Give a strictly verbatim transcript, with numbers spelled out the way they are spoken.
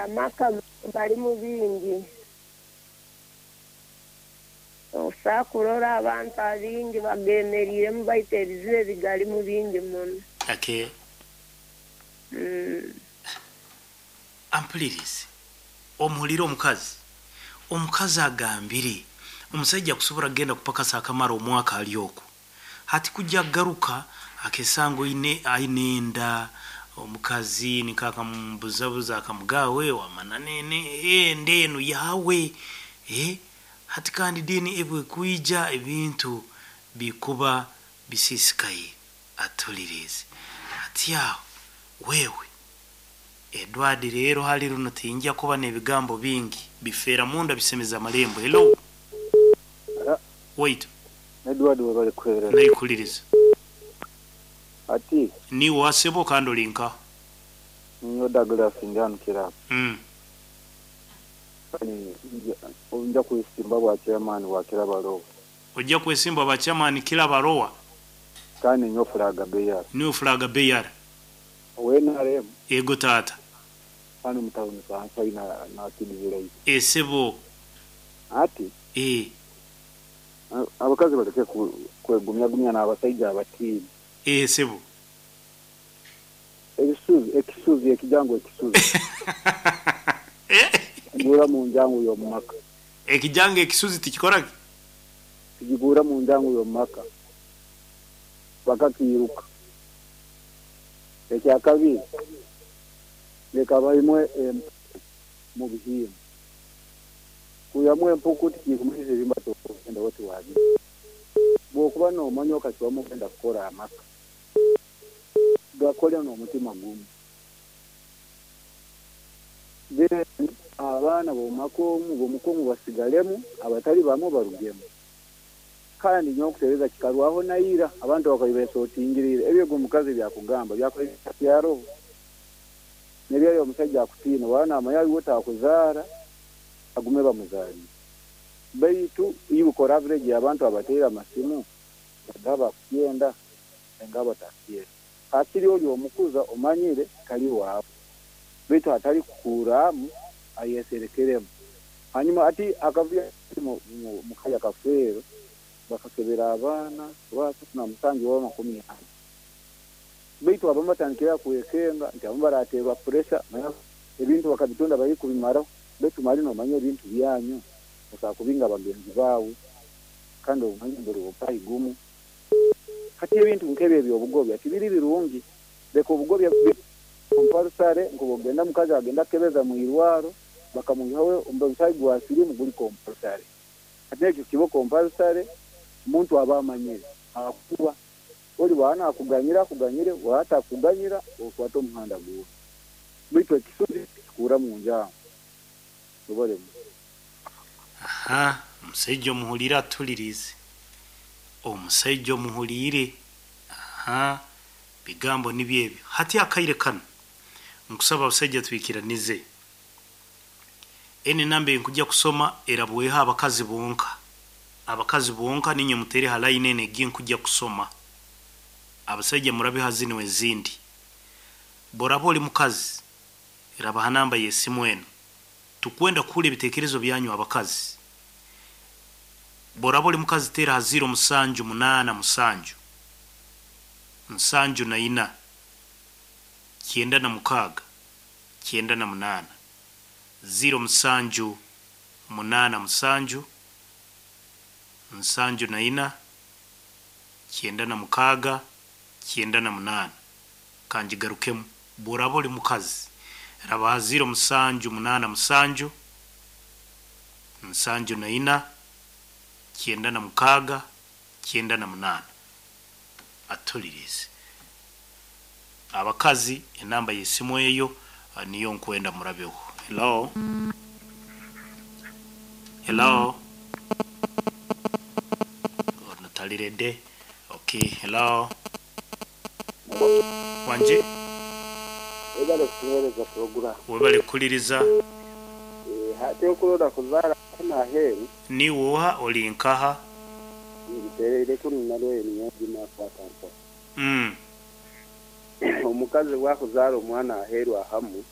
Amaka galimu bingi. Osobola kurora abantu abingi bagemeriiremu, baitu ebizibu ebigalimu bingi muno. Okay. Mm. Ampulirize, omuhulire omukazi. Omukazi agambire omusaija akusobora kugenda kupakasa akamara omwaka ali okwo, hati kujja kugaruka akesanga oine aine enda. Omukazi nika akamubuzabuza, akamugawe wamana nene enda enu yawe, eh? Hati kandi dini ebwe kwija ebintu bikuba bisisikaye. Atulirize hati aho wewe Edward, rero hali runo tinja kuba n'ebigambo bingi bifeera munda bisemeza amalembo. Hello. Ara. Wait. Edward, webale kuheereza. Naikuliriza. Ati niwe wasebo kandi olinka? Niyo Douglas, ndi hano Kirabo. mm. Nja kwesimba bwa chairman wa Kirabalowa. Ojja kwesimba ba chairman Kirabarowa? Kandi nyo flag bearer. Niwe flag bearer? Owe N R M. Ego taata. Hano mu town kansa ina na kidizira. Esebo. Ati eh abakazi baleke ku- kwegumya gumya n'abasajja abatiini. Esebo. Ebisuzi, ekisuzi, ekijangu ekisuzi kigura mu njangu y'omumaka. Ekijanga ekisuzi tikikora. Kigura mu njangu y'omumaka, bakakiruka. Ekyakabiri, leka baimwe em- mu bihimba kuyamu empuku tikikumanyisa ebimba togenda woti wabi. Bwokuba nomanya okakibamu ogenda kukora amaka, gakole n'omutima gumu. Then abaana bomumaka omu bomuka omu basigalemu, abatali bamwe barugemu. Kandi nyo okutereza kikarwaho naira abantu bakabibesotingirire ebyego. Omukazi byakugamba byaroho nebyayo. Omusajja akutiina wana amanya aliwo takuzaara, agume bamuzaalire. Baitu iwe ukora average abantu abateera amasimu bagaba akukyenda enga batakyenda. Hakiri oli omukuza omanyire tali waawe, baitu hatali kukuuramu ayeserekeremu. Hanyuma ati akavuyo mu- mu- mukaya kafeero bakakebera abaana basatu na musanju oba makumi ana, baitu abamu batandikira kwekenga nti abamu barateerwa pressure, ebintu bakabitunda bari kubimaraho. Baitu mali nomanya ebintu byanyu osobola kubinga bagenzi baawe, kandi omanye mbere obupayi gumu. Hati ebintu nk'ebyo ebyobugobya tibiri birungi. Leka obugobya compulsory, nk'obugenda mukazi agenda kukebeza mu irwaro bakamwihaho omusaayi gwa sirimu guli compulsory. Hati ekyo kiba compulsory, omuntu aba amanyire akuba oli bwana akuganyira akuganyire, watakuganyira okwata omuhanda guwe. Baitu ekisuzi kikura mu njangu obalemu. Aha, omusajja omuhulire atulirize, omusajja omuhulire. Aha, bigambo nibyo ebyo. Hati akaire kano nkusaba abasajja twikiranize. Eni namba enkujja kusoma erabweho abakazi bonka, abakazi bonka ninye mutere ha line eno egi nkujja kusoma. Abasajja murabe ha zino ezindi. Boraba oli mukazi, raba ha namba y'esimu eno. Tukwenda kuhura ebitekerezo byanyu abakazi. Boraba oli mukazi, teera ha ziro musanju munaana musanju nsanju na ina kyenda na mukaaga kyenda na munaana, ziro musanju munaana musanju nsanju na ina kyenda na mukaaga kyenda na munaana. Kanjigarukemu. Boraba oli mukazi, raba ha ziro musanju munaana musanju nsanju na ina kyenda na mukaaga kyenda na munaana. Atulirize abakazi, enamba y'esimu eyo ah, niyo nkwenda murabeho. Hello, hello. Ono talirede. Okay, hello, wanje. Webale kutuweereza program. Webale kukuliriza. Hati okulonda kuzaara aheeru. Niwoha, oli nkaha? Ngitereire kunu nalweyo niyo mpa. mm. Omukazi bwakuzaara omwana aheeru ahamu,